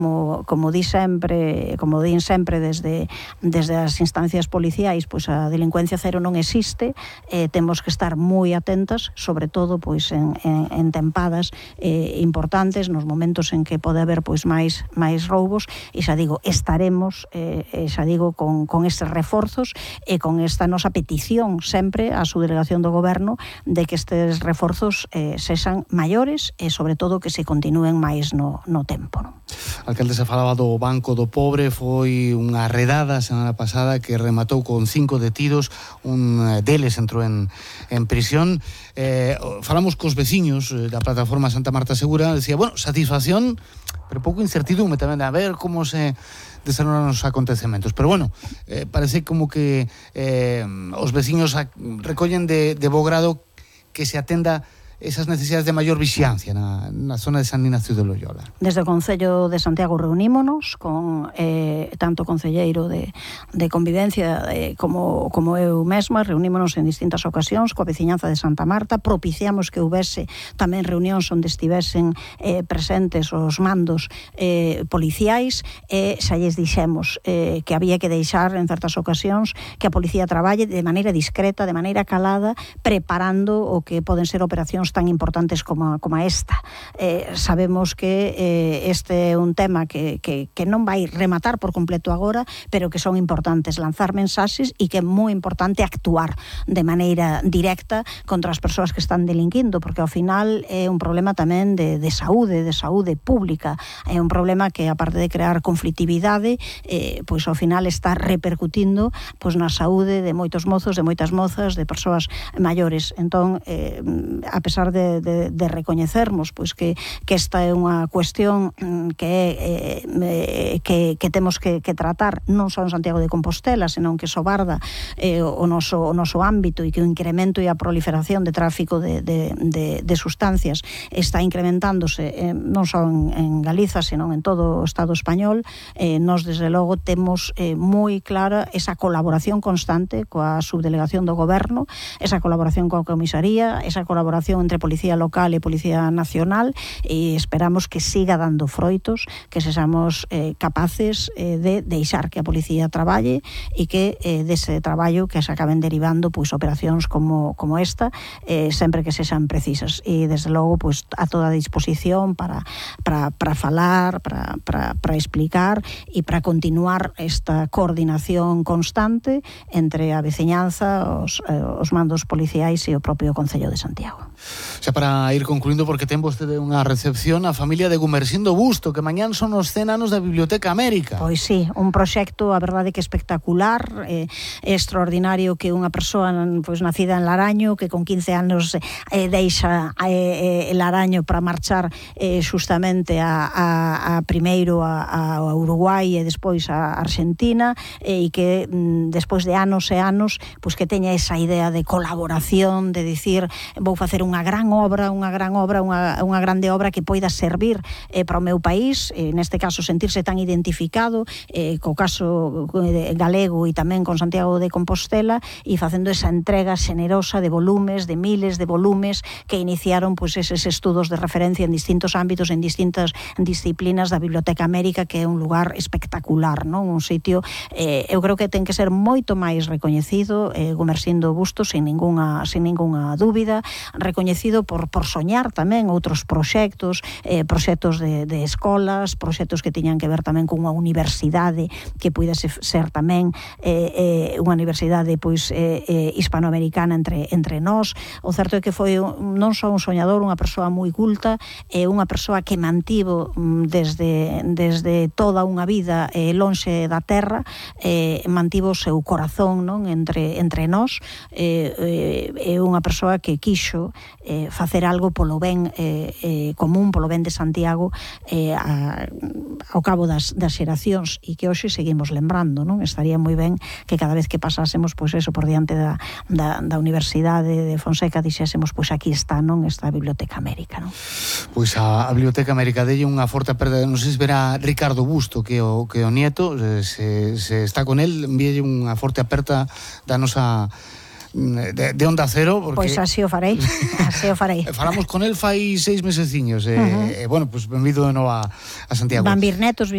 Como din sempre desde as instancias policiais, pois a delincuencia cero non existe, temos que estar moi atentas, sobre todo pois en tempadas importantes, nos momentos en que pode haber pois máis roubos, e xa digo, estaremos con estes reforzos e con esta nosa petición sempre á subdelegación do Goberno de que estes reforzos sexan maiores e sobre todo que se continúen máis no tempo, non? Alcalde, se falaba do Banco do Pobre, foi unha redada a semana pasada que rematou con 5 detidos, un deles entrou en prisión. Falamos cos veciños da plataforma Santa Marta Segura, decía, bueno, satisfacción, pero pouco incertidumbre tamén, a ver como se desarrollan os acontecementos. Pero bueno, parece como que os veciños recollen de bo grado que se atenda esas necesidades de maior vixiancia na zona de San Ignacio de Loyola. Desde o Concello de Santiago reunímonos con tanto o concelleiro de convivencia como eu mesma, reunímonos en distintas ocasións coa veciñanza de Santa Marta, propiciamos que houbese tamén reunións onde estivesen presentes os mandos policiais, e xa lles dixemos que había que deixar en certas ocasións que a policía traballe de maneira discreta, de maneira calada, preparando o que poden ser operacións tan importantes como esta. Sabemos que este é un tema que non vai rematar por completo agora, pero que son importantes lanzar mensaxes e que é moi importante actuar de maneira directa contra as persoas que están delinquindo, porque ao final é un problema tamén de saúde pública, é un problema que, aparte de crear conflitividade, pois ao final está repercutindo pois na saúde de moitos mozos, de moitas mozas, de persoas maiores. Entón, a pesar de recoñecermos pois que esta é unha cuestión que temos que tratar non só en Santiago de Compostela, senón que sobarda o noso ámbito, e que o incremento e a proliferación de tráfico de sustancias está incrementándose non só en Galiza, senón en todo o Estado español. Nós, desde logo, temos moi clara esa colaboración constante coa subdelegación do Goberno, esa colaboración coa comisaría, esa colaboración entre Policía Local e Policía Nacional, e esperamos que siga dando froitos, que sexamos capaces de deixar que a policía traballe e que dese traballo que se acaben derivando pois operacións como esta, sempre que sexan precisas. E desde logo pois a toda disposición para falar, para explicar e para continuar esta coordinación constante entre a veciñanza, os mandos policiais e o propio Concello de Santiago. Xa para ir concluindo, porque ten vostede unha recepción a familia de Gumersindo Busto, que mañán son os 100 anos da Biblioteca América. Pois sí, un proxecto, a verdade, que espectacular, é extraordinario que unha persoa pois nacida en Laraño, que con 15 anos deixa Laraño para marchar justamente primeiro a Uruguai e despois a Argentina, e que despois de anos e anos pois que teña esa idea de colaboración, de dicir, vou facer unha grande obra que poida servir para o meu país, neste caso sentirse tan identificado co caso galego e tamén con Santiago de Compostela, e facendo esa entrega xenerosa de volumes, de miles de volumes que iniciaron pois eses estudos de referencia en distintos ámbitos, en distintas disciplinas da Biblioteca América, que é un lugar espectacular, non? Un sitio, eu creo que ten que ser moito máis recoñecido, Gumersindo Busto, sin ningunha dúbida, recoñecido por soñar tamén outros proxectos de escolas, proxectos que tiñan que ver tamén cunha universidade que puidese ser tamén unha universidade pois hispanoamericana entre nós. O certo é que foi non só un soñador, unha persoa moi culta, unha persoa que mantivo desde toda unha vida lonxe da terra, mantivo o seu corazón, non, entre nós, é unha persoa que quixo facer algo polo ben común, polo ben de Santiago, ao cabo das xeracións, e que hoxe seguimos lembrando, non? Estaría moi ben que cada vez que pasásemos pois eso por diante da Universidade de Fonseca dixésemos pois aquí está, non, esta Biblioteca América, non? Pois a Biblioteca América delle unha forte perda, non sei se verá Ricardo Busto, que o nieto, se está con el, envíelle unha forte aperta da nosa de Onda Cero, porque pois así o farei. Falamos con el fai 6 meseciños, bueno, pois benvido de novo a Santiago. Van vir netos,